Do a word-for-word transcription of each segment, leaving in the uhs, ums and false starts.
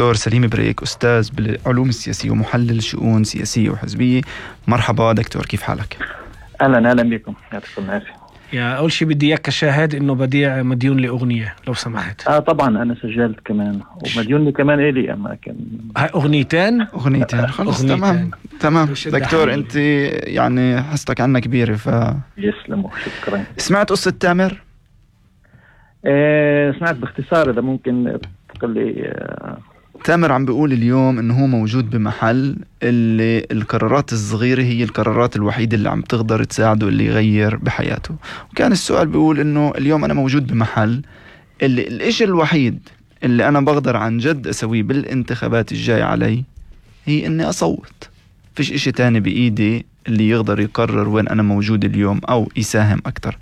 دكتور سليم بريك، أستاذ بالعلوم السياسية ومحلل شؤون سياسية وحزبية. مرحبا دكتور، كيف حالك؟ أهلا أهلا بكم، يعطيكم العافية. يا أول شيء بدي إياك كشاهد إنه بديع مديون لأغنية لو سمحت. آه طبعا أنا سجلت كمان ومديون لي كمان إلي، أما كان هاي أغنيتين أغنيتين خلص. أغنيتين. تمام تمام دكتور، حالي. أنت يعني حستك عنا كبيرة. ف يسلموا، شكرا. سمعت قصة تامر؟ آه سمعت باختصار، إذا ممكن تقول لي. آه تامر عم بيقول اليوم انه هو موجود بمحل اللي القرارات الصغيرة هي القرارات الوحيدة اللي عم تقدر تساعده اللي يغير بحياته. وكان السؤال بيقول انه اليوم انا موجود بمحل اللي الاشي الوحيد اللي انا بقدر عن جد اسويه بالانتخابات الجاية علي هي اني اصوت. فيش اشي تاني بايدي اللي يقدر يقرر وين انا موجود اليوم او يساهم اكتر.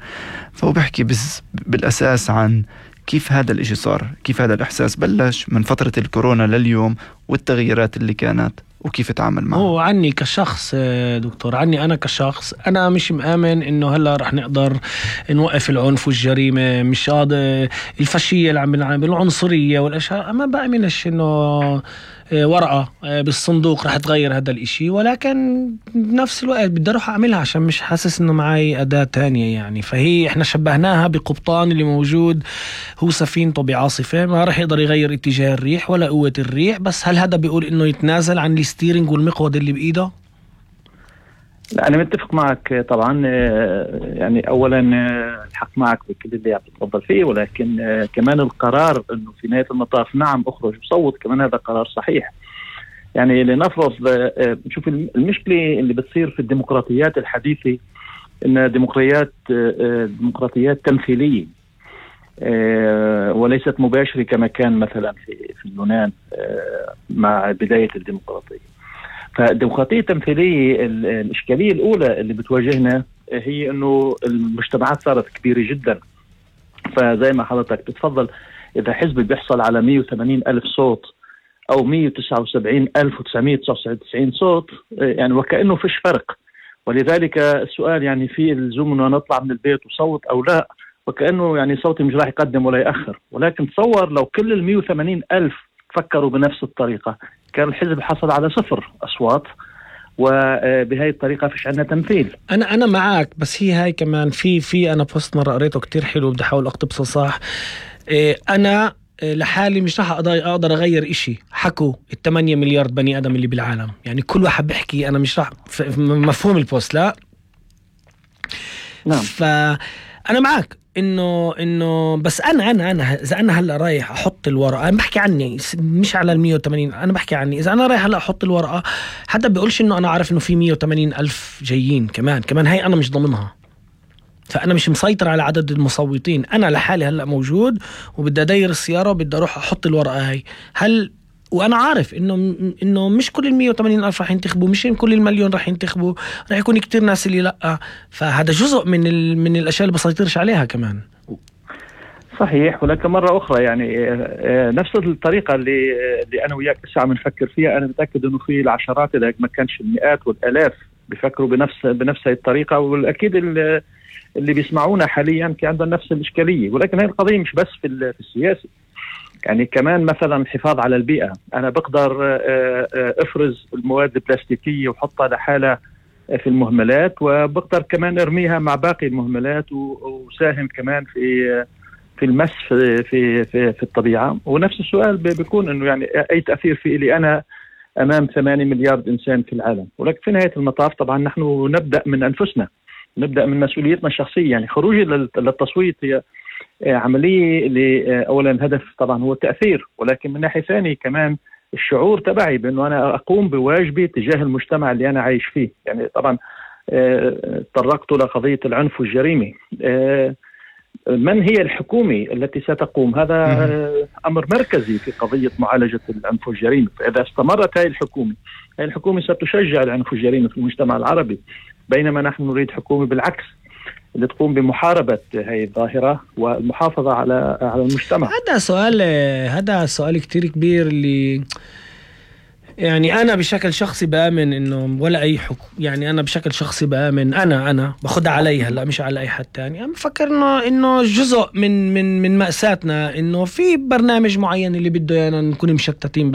فهو بحكي بس بالاساس عن كيف هذا الاشي صار، كيف هذا الإحساس بلش من فترة الكورونا لليوم والتغييرات اللي كانت وكيف تعامل معه. هو عني كشخص دكتور، عني أنا كشخص، أنا مش مآمن إنه هلا رح نقدر نوقف العنف والجريمة، مش هذا الفاشية اللي عم بنعمل العنصرية والأشياء. ما بأمنش إنه ورقة بالصندوق رح تغير هذا الاشي، ولكن بنفس الوقت بدي اروح اعملها عشان مش حاسس انه معي اداة تانية يعني. فهي احنا شبهناها بقبطان اللي موجود هو سفينته بعاصفة، ما رح يقدر يغير اتجاه الريح ولا قوة الريح، بس هل هذا بيقول انه يتنازل عن الستيرنج والمقود اللي بايده؟ لا، أنا متفق معك طبعا. يعني أولا الحق معك بكل اللي عم تتفضل فيه، ولكن كمان القرار أنه في نهاية المطاف نعم أخرج وصوت، كمان هذا قرار صحيح. يعني لنفرض نشوف المشكلة اللي بتصير في الديمقراطيات الحديثة، إنها ديمقراطيات ديمقراطيات تمثيلية وليست مباشرة كما كان مثلا في في اليونان مع بداية الديمقراطية. فالديمقراطية التمثيلية الإشكالية الأولى اللي بتواجهنا هي أنه المجتمعات صارت كبيرة جدا. فزي ما حضرتك بتفضل، إذا حزب بيحصل على مية وثمانين ألف صوت أو مية وتسعة وسبعين ألف وتسعمية وتسعة وتسعين صوت، يعني وكأنه فيش فرق. ولذلك السؤال يعني في اللزوم أنه نطلع من البيت وصوت أو لا، وكأنه يعني صوتي مش راح يقدم ولا يأخر. ولكن تصور لو كل المية وثمانين ألف فكروا بنفس الطريقة، كان الحزب حصل على صفر أصوات، وبهاي الطريقة فيش عندنا تمثيل. أنا أنا معك، بس هي هاي كمان في في أنا بوست مرة قريته كتير حلو، بدي أحاول أقتبسه صح. إيه أنا لحالي مش راح أقدر أغير إشي حكوا الثمانية مليار بني آدم اللي بالعالم. يعني كل واحد بيحكي، أنا مش راح مفهوم البوست لا. نعم. فأنا معك إنه إنه بس أنا أنا أنا إذا أنا هلا رايح أحط الورقة، أنا بحكي عني مش على المية وثمانين، أنا بحكي عني إذا أنا رايح هلا أحط الورقة، حدا بيقولش إنه أنا عارف إنه في مية وثمانين ألف جايين كمان كمان هاي أنا مش ضمنها. فأنا مش مسيطر على عدد المصوتين، أنا لحالي هلا موجود وبدي أدير السيارة وبدي أروح أحط الورقة هاي. هل وانا عارف انه انه مش كل المية وثمانين الف راح ينتخبوا، مش كل المليون راح ينتخبوا، راح يكون كتير ناس اللي لا. فهذا جزء من ال... من الاشياء اللي بسيطرش عليها كمان. صحيح. ولكن مرة أخرى يعني نفس الطريقة اللي اللي أنا وياك لسه عم نفكر فيها، أنا متأكد إنه في العشرات إذا ما كانش المئات والآلاف بيفكروا بنفس بنفس الطريقة، والأكيد اللي, اللي بيسمعونا حاليا في عندهم نفس الإشكالية. ولكن هاي القضية مش بس في في السياسة، يعني كمان مثلا الحفاظ على البيئة. أنا بقدر أفرز المواد البلاستيكية وحطها لحالها في المهملات، وبقدر كمان أرميها مع باقي المهملات وساهم كمان في في المس في في في, في الطبيعة. ونفس السؤال بيكون إنه يعني أي تأثير في لي أنا أمام ثمانية مليار إنسان في العالم. ولكن في نهاية المطاف طبعا نحن نبدأ من أنفسنا، نبدأ من مسؤوليتنا الشخصية. يعني خروجي للتصويت هي عملية اللي أولا الهدف طبعا هو التأثير، ولكن من ناحية ثانية كمان الشعور تبعي بأنه أنا أقوم بواجبي تجاه المجتمع اللي أنا عايش فيه. يعني طبعا تطرقت لقضية العنف والجريمة. من هي الحكومة التي ستقوم؟ هذا أمر مركزي في قضية معالجة العنف والجريمة. فإذا استمرت هذه الحكومة هذه الحكومة ستشجع العنف والجريمة في المجتمع العربي، بينما نحن نريد حكومة بالعكس اللي تقوم بمحاربة هاي الظاهرة والمحافظة على على المجتمع. هذا سؤال هذا سؤال كتير كبير اللي يعني أنا بشكل شخصي بآمن إنه ولا أي حكم، يعني أنا بشكل شخصي بآمن أنا أنا باخدها علي هلا مش على أي حد تاني. أنا بفكر إنه إنه جزء من من من مأساتنا إنه في برنامج معين اللي بده يعني نكون مشتتين